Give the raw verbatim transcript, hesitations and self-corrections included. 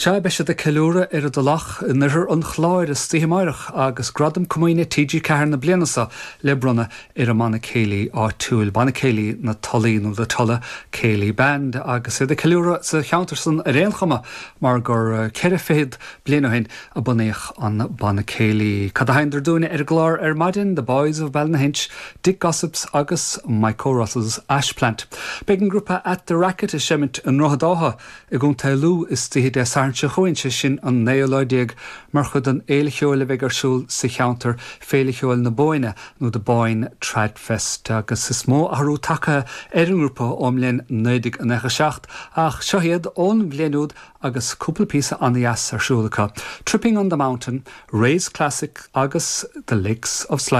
Sea beidh siad ag ceiliúradh ar an dTulach in oirthear an Chláir istoíche amárach agus gradam comaoine TG Ceathair na bliana seo le bronnadh ar an mbanna céilí áitiúil banna céilí na Tulaí nó the Tulla Céilí Band agus iad ag ceiliúradh sa cheantar san ar aon chuma mar gur ceithre fichid bliain ó shin a bunaíodh an banna céilí. Cad a sheinntear dúinne ar an gclár ar maidin, The Boys of Ballynahinch, Dick Gossips agus Michael Russell's Ashplant. Beidh an grúpa at the Racket ag seimint i nDroichead Átha i gContae Lú istoíche Dé Sathairn seo chugainn sé sin an naoú lá déag mar chuid den fhéile cheoil a bheidh ar siúl sa cheantar Féile Cheoil na Bóinne nó the Boyne Tradfest agus is mó athrú tagtha ar an ngrúpa ón mbliain naoi déag nócha seacht ach seo iad ón bhliain úd agus cúpla píosa an-deas ar siúl acu. Tripping on the Mountain, Ray's Classic agus The Lakes of Sligo.